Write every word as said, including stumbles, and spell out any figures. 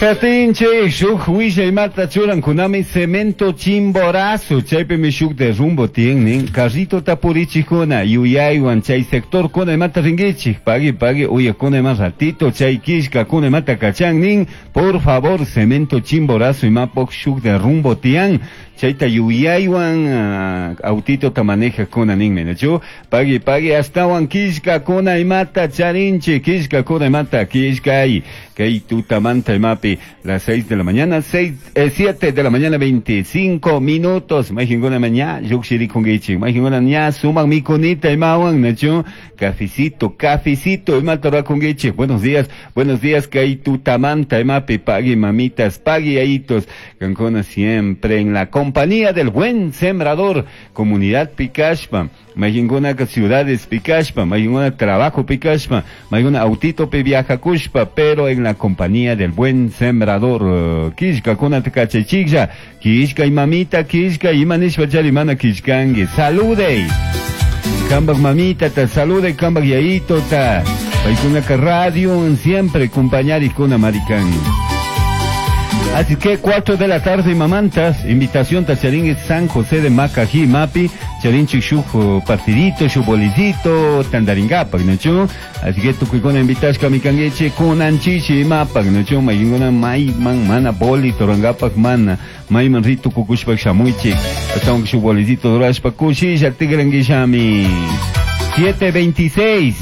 Katinchik shuk willaymata churankunami Cemento Chimborazo, chaypimi shuk derrumbo tiyan, carrito purichikuna yuyaywan chay sector kuna imata rinkichik, pagui pagui uyakuna ima ratito chay killkakuna imata kachan nin, por favor, Cemento Chimborazo imapok shuk derrumbo tiyan, chayta yuyaywan uh, autito ta manejakuna ninmi, nachu? Pagui pagui astawan killkakuna imata charinchik, killkakuna imata killkay, kay tutamanta imapi, las seis de la mañana, seis, eh, siete de la mañana, veinticinco minutos. Mayqinguna ña lluqshirikunkichik, mayqinguna ña sumaq mikunita imawan, nachu? Cafecito, cafecito imata rurakunkichik. Buenos días, buenos días, kay tutamanta imapi, pagui mamitas, pagui yayitos, kankuna siempre en la compañía del buen sembrador, comunidad Picashpa, mayqinguna ciudades Picashpa, mayqinguna trabajo Picashpa, mayqinguna autito pi viajakushpa, pero en la compañía del buen sembrador. Killkakuna kachaychiklla, killkay mamita, killkay, ima nishpa chari mana killkanki. Salude. Kambak mamita ta salude, kambak yayito ta. Paykunaka radio siempre compañarikuna marikan. Así que cuatro de la tarde, mamantas, invitación ta charin San José de Macají, Mapi, charinchik shuk partidito, shuk bolicito, tantaringapak, nachu? Así que tukuykuna invitashka mikankichik, kunan chishi imapak, nachu? Mayqinguna mayman mana bolito rurangapak mana, mayman ri tukukushpak shamuychik, ashtawan shuk bolicito rurashpa kushilla tikrankishami. siete veintiséis.